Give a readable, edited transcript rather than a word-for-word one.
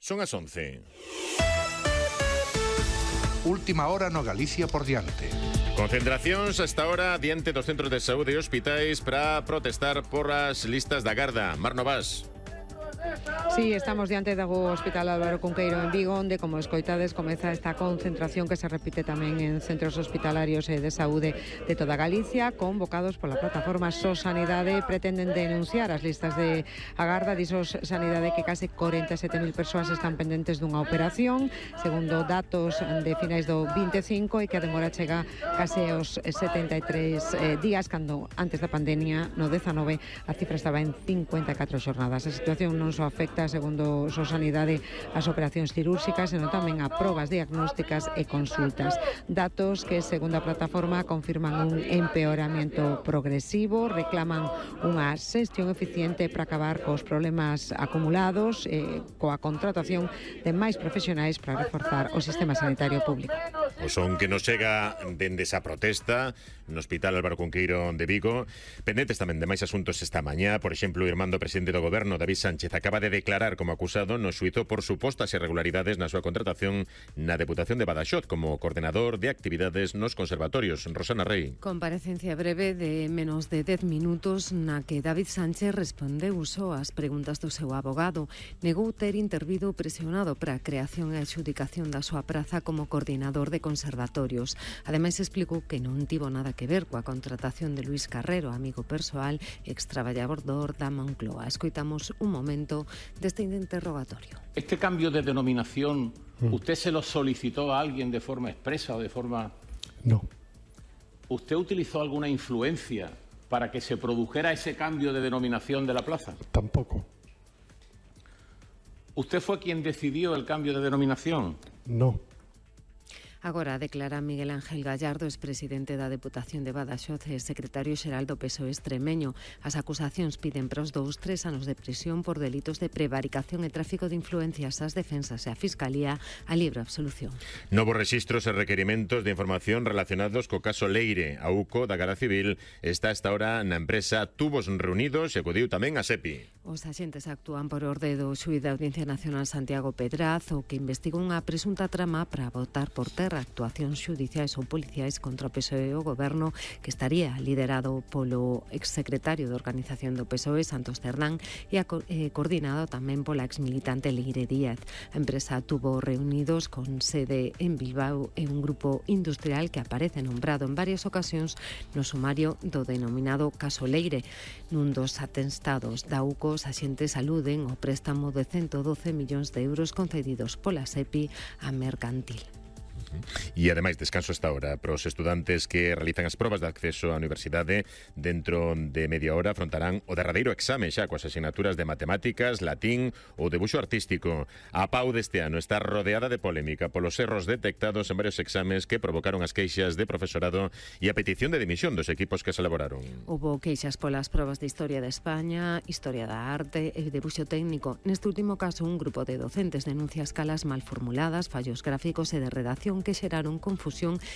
Son as 11. Última hora no Galicia por diante. Concentracións hasta ahora diante dos centros de saúde e hospitais para protestar por as listas da Garda. Mar Novas. Sí, estamos diante do Hospital Álvaro Cunqueiro en Vigo, onde, como escoitades, comeza esta concentración que se repite tamén en centros hospitalarios e de saúde de toda Galicia, convocados pola plataforma SOS Sanidade. Pretenden denunciar as listas de Agarda. Dixos Sanidade que case 47.000 persoas están pendentes dunha operación, segundo datos de finais do 25, e que a demora chega case aos 73 días, cando antes da pandemia, no 19, a cifra estaba en 54 xornadas. A situación non só afecta, segundo SOS Sanidade, as operacións cirúrxicas, senón tamén a probas diagnósticas e consultas. Datos que, segundo a plataforma, confirman un empeoramento progresivo, reclaman unha xestión eficiente para acabar cos problemas acumulados, coa contratación de máis profesionais para reforzar o sistema sanitario público. O son que nos chega dende esa protesta no Hospital Álvaro Cunqueiro de Vigo. Pendentes tamén de máis asuntos esta mañá. Por exemplo, o irmán do presidente do Goberno, David Sánchez, acaba de declarar como acusado no xuízo por supostas irregularidades na súa contratación na Deputación de Badaxoz como coordenador de actividades nos conservatorios. Rosana Rey. Comparecencia breve de menos de 10 minutos na que David Sánchez respondeu só ás preguntas do seu abogado. Negou ter intervido presionado para a creación e adxudicación da súa praza como coordinador de conservatorios. Ademais, explicou que non tivo nada que ver coa contratación de Luis Carrero, amigo persoal, extraballador da Moncloa. Escoitamos un momento deste interrogatorio. ¿Este cambio de denominación, usted se lo solicitó a alguien de forma expresa o de forma...? No. ¿Usted utilizó alguna influencia para que se produjera ese cambio de denominación de la plaza? Tampoco. ¿Usted fue quien decidió el cambio de denominación? No. Agora declara Miguel Ángel Gallardo, expresidente da Deputación de Badaxoz e secretario xeral do PSOE extremeño. As acusacións piden para os 3 anos de prisión por delitos de prevaricación e tráfico de influencias. As defensas e a Fiscalía a libre absolución. Novos rexistros e requerimentos de información relacionados co caso Leire. A UCO da Garda Civil está hasta ahora na empresa Tubos Reunidos e acudiu tamén a SEPI. Os axentes actúan por orde do xuíz da Audiencia Nacional Santiago Pedraz, o que investiga unha presunta trama para botar por terra actuacións xudiciais ou policiais contra o PSOE e o Goberno, que estaría liderado polo exsecretario de Organización do PSOE, Santos Cerdán, e coordinado tamén pola exmilitante Leire Díaz. A empresa Tubo Reunidos, con sede en Bilbao, é un grupo industrial que aparece nombrado en varias ocasións no sumario do denominado caso Leire. Nun dos atestados da UCO, os axentes aluden ao préstamo de 112 millóns de euros concedidos pola SEPI a Mercantil. E ademais, descanso esta hora para os estudantes que realizan as probas de acceso á universidade. Dentro de media hora afrontarán o derradeiro exame xa coas asignaturas de matemáticas, latín ou debuxo artístico. A PAU deste ano está rodeada de polémica polos erros detectados en varios exames que provocaron as queixas de profesorado e a petición de dimisión dos equipos que se elaboraron. Houbo queixas polas probas de Historia de España, Historia da Arte e debuxo técnico. Neste último caso, un grupo de docentes denuncia escalas mal formuladas, fallos gráficos e de redacción que xeraron confusión